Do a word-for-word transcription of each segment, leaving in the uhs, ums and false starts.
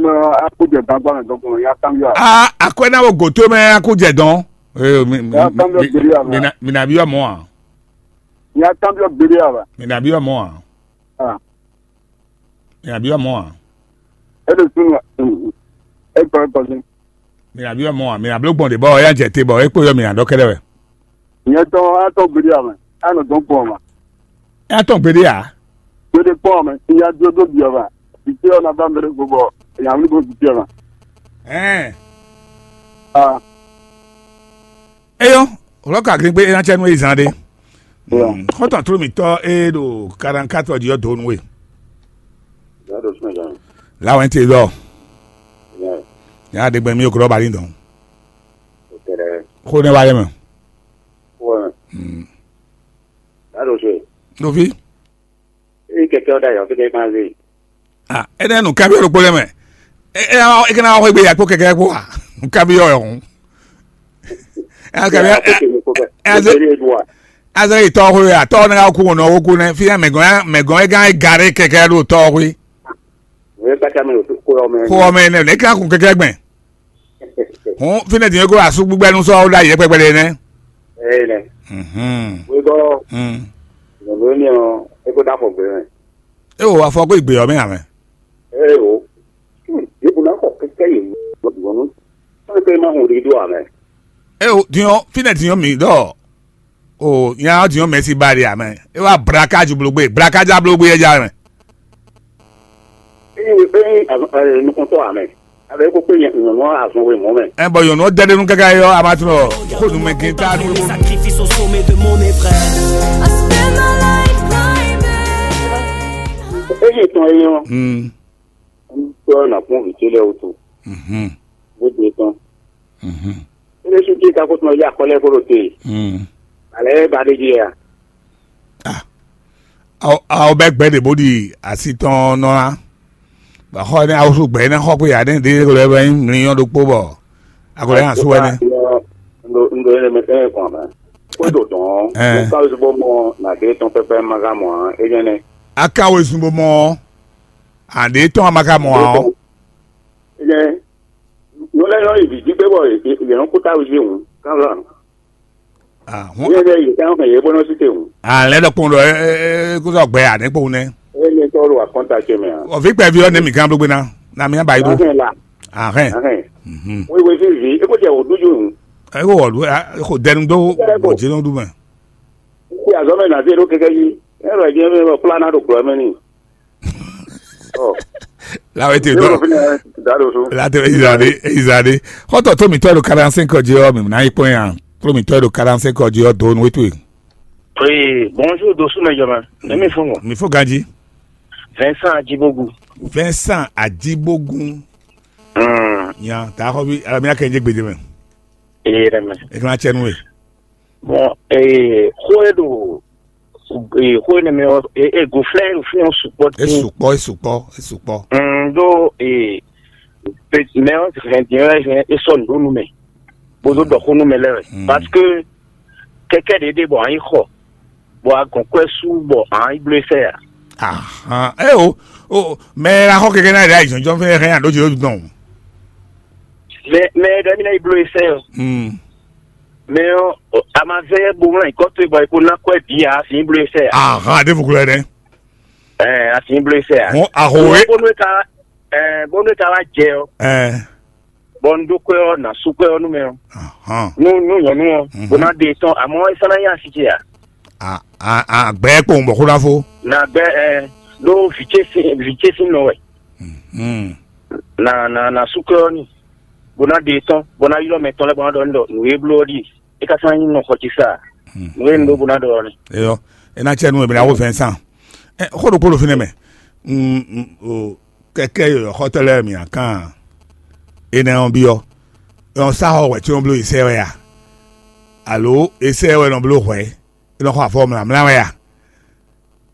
Akújɛ gbangba mɛ dɔn kɔnɔ ya kan yɔ. Ah, akwɛ na wo goto mɛ akújɛ dɔn. Eh, mi mi Ya kan yɔ mi gbeli ya mi na mi na bi yɔ mɔ a. Ya kan yɔ gbeli ya ba. Mi na bi yɔ mɔ a. Ah. Mi na bi yɔ mɔ a. E de sunu. E kɔ e kɔ ni. Mi na bi yɔ mɔ a. Mi na blo gbɔn de bɔ ya jɛ te bɔ e kpo yɔ mi na dɔ kɛdɛ wɛ. Nyɛ tɔn atɔ gbeli ya mɛ. Anɔ dɔn kpɔn ma. Atɔ gbeli ya. Gbeli kpɔn mɛ. Ya dúró dó biɔ ma. Ìṣe ọ̀nà bá mẹ́rin gbogbo. Ìyàwó ní gbogbo biɔ ma. Ɛn. Ah. Eyɔ, wlɔ ka gbe gbe ena cɛ nu ezan de. Eyɔ. Xɔtɔn tro mi tɔ e do quarante-quatre di yɔ do nu we. Ya do sɔn jan. La wɛn te dɔ. Ya. Ya de gbɛ mi o kro bali dɔn. O tɛrɛ. Ko ne wa yɛ mɛ. Ko. Hmm. Ya do sɔn. Novi. E kɛkɛ o da yɔ fike kan ze. Ah, ene nu kabi ro kpole mɛ. E e e kana wa gbe ya kpo kɛkɛ kpo wa. Kabi yɔ yɔ. E kabi. Azɛ yi tɔ ko ya tɔ ne ka ku no wo ku ne fi mɛ gɔn mɛ gɔn e gan gare kɛkɛ do tɔ ko. Ko mɛ ne ne ka ku kɛkɛ gbɛn. Hɔn fínɛ́ din e ko asú gbígbɛ́nú sɔ́ ɖó ayǐ kpɛkpɛ ɖé nɛ́. Ee nɛ. Mhm. Wegɔ́ Mm. Nɔ̀nú émí ɔ́, é kó dó afɔ gbé mɛ. E wo afɔ ko igbe ɔ́ mɛ amɛ. Ee o. Yěbù ná xɔ kɛkɛ yě wɔ dùgbɔnú. Sɔ́n pé má hun ɖi ɖó amɛ. E wo diɔ fínɛ́ diɔ mi ɖɔ o nya ɔ́ diɔ mɛsi ba ɖe amɛ. E wa blaka ju blogbe blaka ja blogbe yɛ ja mɛ. Ényí ényí azɔn ɛ nukɔntɔ amɛ. Abɛ ko kpe nyɔnu azɔn we mɔ mɛ. Ɛ bɔ nyɔnu dɛ ɖe nu káká yɔ a ma tunɔ xo nu mɛ gɛn ta nu. Sacrifice au sommet de mon épreuve. I spend my life climbing. Ényí tɔn é yɔ. Hmm. Tɔ na kpɔn vǐ ce lɛ wutu. Mhm. Bó de tɔn. Mhm. Ele su ki ka ko tɔn ya kɔlɛ ko te. Hmm. Ale ba de ji ya. Ah. Awo awo bɛ gbɛ ɖe bó ɖi asi tɔn nɔ la. Bɔ xɔ ne awo su gbɛ ne xɔ ko ya ne ɖe ko lɛ bɛ nyí mli yɔ ɖokpo bɔ. Ago lɛ hã su wɛ ne. Ndo ndo ele me ele kɔn mɛ. Ko do dɔn. Ɛ. Mo ka wo bo mɔ na de tɔn pɛpɛ ma ka mɔ a e nyɛ ne. Aka wo sun bo mɔ. Aɖe tɔn a ma ka mɔ a ɔ. E nyɛ. Nyɔ lɛ yɔ yi vǐ jí gbé bɔ yě yě nɔ kú táwé jí hǔn. Kán lɔ. Ah, Ní hɔn. Ɛɖɛ yě ká mɛ yě bó nɔ sí te hǔn. Ah, lɛ ɖɔ kpɔn ɖɔ ɛ ɛ ɛ kó sɔ gbɛ a ne kpɔn nɛ. Eye ní tɔ́ ɖo akɔnta ce mɛ a. Ɔ vi kpɛ vi ɔ ne mi gán blógbé ná. Na mi ba yi ɖó. Ahɛn la. Ahɛn. Ahɛn. Mhm. Wíwí sí vi é kó jẹ wò dúdú hǔn. Ɛ kó wɔ ɖu ɛ kó dɛnu dó bɔ dzi nɔ ɖu mɛ. Kí azɔ́ mɛ nà zé ɖó kɛkɛ yí. Ɛ lɔ jẹ́ mɛ kplá ná ɖo gblɔ mɛ n'i. Ɔ. La wɛ te Yóò dɔ. Fi ne da ɖo so. La te ezade ezade. Xɔtɔ tó mi tɔ ɖo quarante-cinq ɔ dzi ɔ mi na yi kpɔn ya. Tó mi tɔ ɖo quarante-cinq ɔ dzi ɔ do nu wetu. Oui, bonjour Dosu Mejoma. Ne mi fún ŋɔ. Mi fo ganji. Vincent Ajibogu. Vincent Ajibogun. Hmm. Nya ta xɔ bi ala mi akɛ je gbede mɛ. Ee, rɛ mɛ. E kana cɛ nu we. Bon, ee, xó e ɖo ee, xó énɛ́ mɛ ɔ́, e e go flɛ́ ɖo fí ɔ́ sukpɔ́ E dín. Sukpɔ, e sukpɔ, e sukpɔ. Mm, ɖó ee, pe- mɛ ɔ́ hɛn din ɔ́ hɛn é sɔ́ nǔ ɖó nú mɛ, bó dó ɖɔ xó nú mɛ lɛ́ɛ wɛ. Mm. Parce que kɛkɛ ɖě ɖe bɔ a nyí xɔ, bɔ a gɔn kwɛ́ sú bɔ a nyí bló é sɛ a. Ahan, e o, o, mɛ la xɔ kɛkɛ na ɖe ayi jɔnjɔn fɛnɛ hɛn aɖo jɛ dɔn. Mɛ mɛ ɖɔ mi na yi bló é sɛ o. Mm. Mɛ ɔ́, a ma zɛ yɛ bo wlán nyǐkɔ towe bɔ è ko ná kɔ́ ɛ bǐ ǎ, a sǐ bló e sɛ ǎ. Ahan, ɖěvo glɔ́ ɛnɛ. Ɛɛ, a sǐ bló e sɛ ǎ. Hɔn, aho we. Bónú e ka ɛɛ, bónú e ka wá jɛ ɔ́, Ɛɛ. Bɔ un ɖó kwɛ́ ɔ́, nǎ sú kwɛ́ ɔ́ nú mɛ ɔ́. Ahan. Nú nú nyɔ̌nu ɔ́, Mhm. Bó ná ɖe tɔn, amɔ̌ é sɔ́ ná nyí asi ce ǎ. A a a gbɛ kpowun bɔ xó ná fó. Nǎ gbɛ ɛɛ, ɖó vǐ ce sín vǐ ce sín nɔ wɛ. Mhm. Nǎ nǎ nǎ sú kwɛ́ ɔ́ n'i, bó ná ɖe tɔn, bó ná ylɔ́ mɛ tɔn lɛ́ɛ bó ná ɖɔ n'i ɖɔ nǔ e bló ɔ́ ɖíe. É ka sɔ́ ná nyí nɔ xɔ ce sá a? Nǔ e un ɖó bó ná ɖɔ ɔ́ nɛ́. Eyɔ, e ná cɛ nú e bla wo Vincent. Ɛ xó ɖokpó ɖo fínɛ́ mɛ. Mm, mm, o kɛkɛ yɔyɔ xɔtɔ lɛ mi akan. Enɛ ɔn biɔ. Ɔ sa xɔ wɛ tí wọn bló isɛ wɛ a? Alo isɛ wɛ nɔ bló hwɛ? E nɔ xɔ afɔ mlamla wɛ a?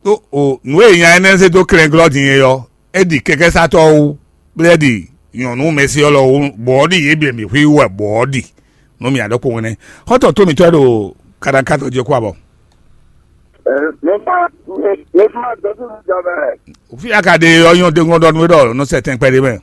Ɖó o nǔ e nya énɛ́ zé dó klɛnglɔ́ din é ɔ́, é ɖi kɛkɛ́sátɔ́ wú, bó lɛ́ ɖi nyɔ̌nu mɛsí ɔ́ lɔ wú, bɔ ɔ́ ɖi yě bǐ mǐ xwí wú wɛ bɔ ɔ́ ɖi nú mì aɖɔkpɔ́nwun nɛ́. Xɔ́ntɔn tó mǐtɔn e ɖo kaɖankátɔ jí ɔ́ kú abɔ. Ɛ, mi fa mi mi fa dɔtú mi jɔ mɛ. Fí a ka ɖe ɔ́ nyɔ́ dó ŋɔ́ ɖɔ nú é ɖɔ nɔ sɛ tɛn kpɛɖé mɛ.